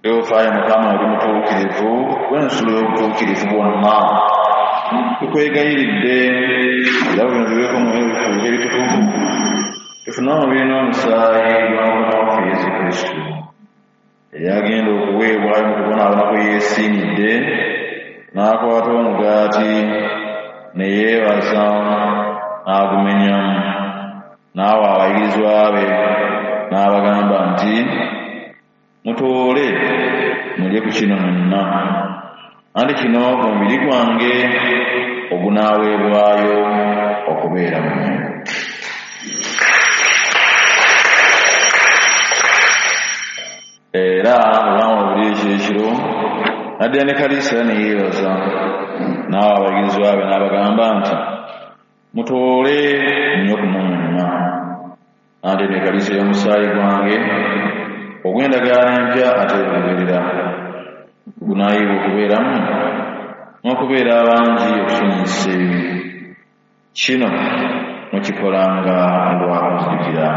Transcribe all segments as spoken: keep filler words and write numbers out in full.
Eofaayo Mukama oli mutuukirivu w'ensulo y'obutuukirivu bwonna. Tukwegayiridde era bino bibeeko mu ebifo ebitukuvu tufune omubiri n'omusaayi gwa Mukama waffe Yesu Kristo eyagenda okuweebwayo mu kubonaabona kwe yeesiimidde n'akwata omugaati ne yeebaza n'agumenyamu n'awa abayigirizwa be n'abagamba nti mutoole mulye ku kino mwenna anti kino omubiri gwange ogunaaweebwayo okubeera mmwe. Era olwamala okulya ekyekiro n'addira ne kaliisa ne yeebaza n'awa abayigirizwa be n'abagamba nti mutoole munywe kuno mwenna anti eno ekaliisa y'omusaayi gwange ogw'endagaano empya ate olubeerera gunaayibwa okubeeramu n'okubeera abangi okusonyiyisa ebibi. Kino mukikolanga lwa kunzijukira.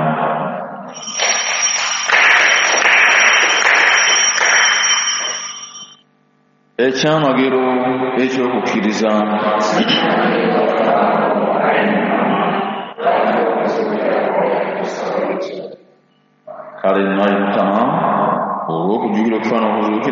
Ekyamagero eky'okukkiriza.